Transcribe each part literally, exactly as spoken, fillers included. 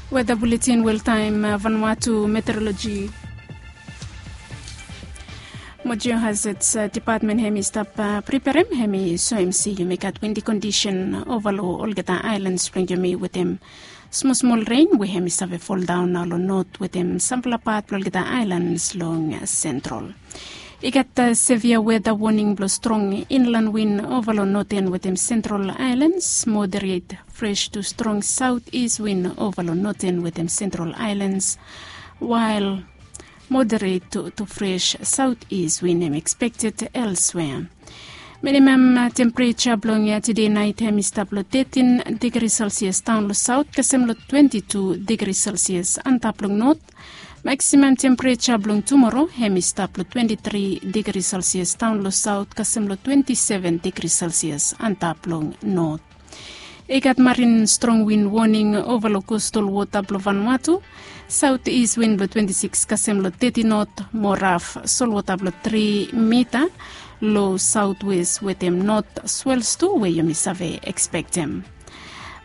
Weda buletin weltaem, Vanuatu meteorologi mo jeo hazets depatmen hem i stap preperem hem i soem se yumi gat windi kondisen ova long olgeta aelans blong yumi wetem smosmol ren we hem i save foldaon nao long not wetem sampela pat blong olgeta aelans long sentral. I gat sevia weda woning blong strong inlan win ova long noten wetem sentral aelans, moderet fres tu strong saut is win ova long noten wetem sentral aelans, wael moderet tu fres saut is win hem ekspekted elswea. Minimam tempereja blong tide nait hem i stap long tetin digri selsias daon long saut kasem long twenti tu digri selsias antap long not. Maksimam tempereja blong tumoro hem i stap long twenti tri digri selsias daon long saut kasem long twenti seven digri selsias antap long not. I gat marin strong win woning ova long kostal wota blong Vanuatu. Saut is win blong twenti sikis kasem long teti not mo raf solwota blong tri mita long saut wes wetem not swels tu we yumi save ekspektem.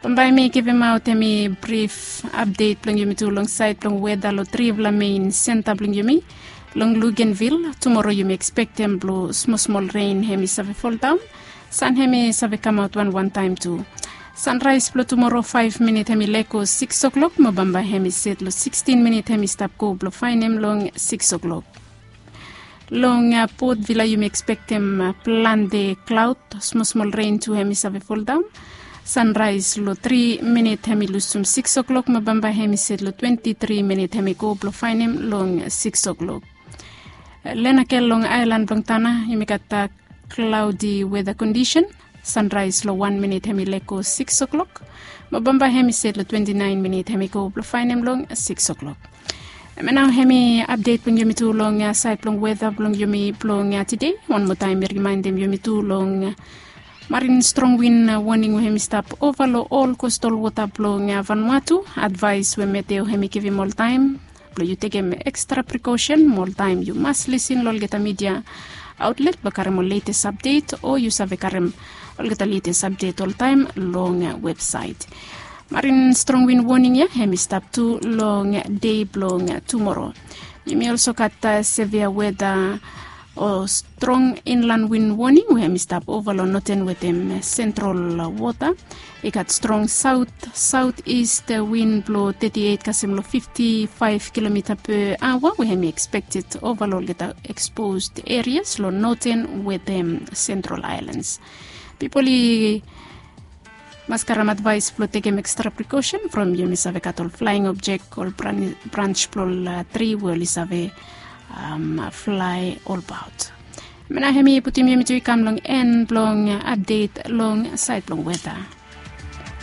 Bambae mi givimaot hemi brif apdet blong yumi tu long saed blong weda long trifala mein senta blong yumi. Long Lugenvil tumoro yumi ekspektem blong smosmol ren hemi save foldaon. San hemi save kamaot wanwan taem tu. Sanraes blong tumoro faef minit hemi lego sikis oklok mo bambae hemi set long sikstin minit hemi stap go blong faenem long sikis oklok. Long Port Vila yumi ekspektem plante klaod, smosmol ren tu hemi save foldaon. Sanraes long tri minit hemi lusum sikis oklok mo bambae hemi set long twenti tri minit hemi go blong faenem long sikis oklok. Lenakel long aelan blong Tana yumi gat klaodi weda kondisen. Sanraes long wan minit hemi lego sikis oklok mo bambae hemi set long twenti naen minit hemi go blong faenem long sikis oklok. Hemia nao hemi apdet blong yumi tu long saed blong weda blong yumi blong tide. Wan moa taem mi rimaendem yumi tu long marin strong win woning we hemi stap ova long ol kostal wota blong Vanuatu. Advaes we meteo hemi givim oltaem blong yu tekem ekstra prikosen mo oltaem yu mas lisin long olgeta midia aotlet blong karem ol letes apdet o yu save karem olgeta letes apdet oltaem long websaet. Marin strong win woning ya hemi stap tu long dei blong tumoro. Yumi olso gat sevia weda o strong inlan win woning we hemi stap ova long noten wetem sentral wota. I gat strong saut saut ist win blong teti eit kasem long fifti faef kilomita pe aoa we hemi ekspekted ova long olgeta eksposed erias long noten wetem sentral aelans. Pipol i mas karem advaes blong tekem ekstra prikosen from yumi save gat ol flaeng objek ol brans blong ol tri we oli save flae olbaot. Hemia nao hemi putum yumi tu i kam long en blong apdet long saed blong weda.